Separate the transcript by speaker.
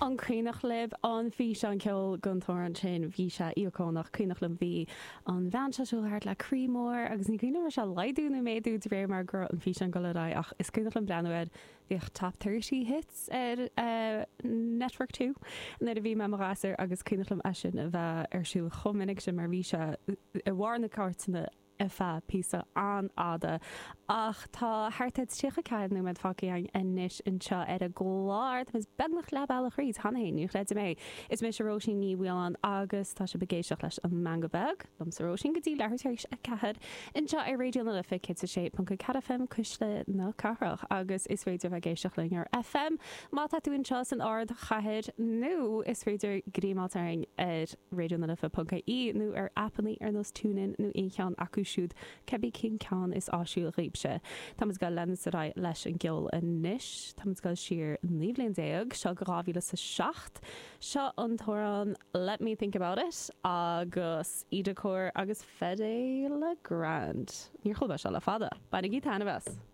Speaker 1: An cuimhneach libh an físeán ceoil don t-amhrán sin? Bhí sé íocónach. Cuimhneach liom bhí an bhean seo siúl thart le croí mór agus ní cuimhin liom raibh sé ag laghdú nó méadú de réir mar go raibh an físeán ag dul ar aghaidh ach is cuimhneach liom breathnú air. Bhíodh Top 30 Hits ar Network 2 nuair a bhí mé i mo ghasúr agus cuimhneach liom é sin a bheith ar siúl chomh minic sin mar bhí sé i bharr na cairteanna ar feadh píosa an-fhada. Ach tá thart ar 34 nóiméad fágtha againn anois anseo ar an gclár. Táimid beagnach leath bealaigh thríd cheana féin, ní chreidim é. Is mise Róisín Ní Mhaoláin agus tá sibh ag éisteacht leis An Meangadh Beag, liomsa Róisín, go dtí leathuair tar éis a 4 anseo ar Raidió na Life 106.4 FM, Cuisle na Cathrach. Agus is féidir bheith ag éisteacht linn ar FM má tá tú anseo san ardchathair nó is féidir greim a fháilt orainn ar raidionalife.ie nó ar aipeanna ar nós TuneIn nó aon cheann acu siúd, cibé cén ceann is áisiúil dhaoibhse. Táimid ag dul leanúint ar aghaidh leis an gceol anois. Táimid ag dul siar 19 bhliain, seo go 2007. Seo an t-amhrán Let Me Think About It agus Ida Corr agus Fedde Le Grand. Níor chuala mé seo le fada. Bainigí taitneamh as!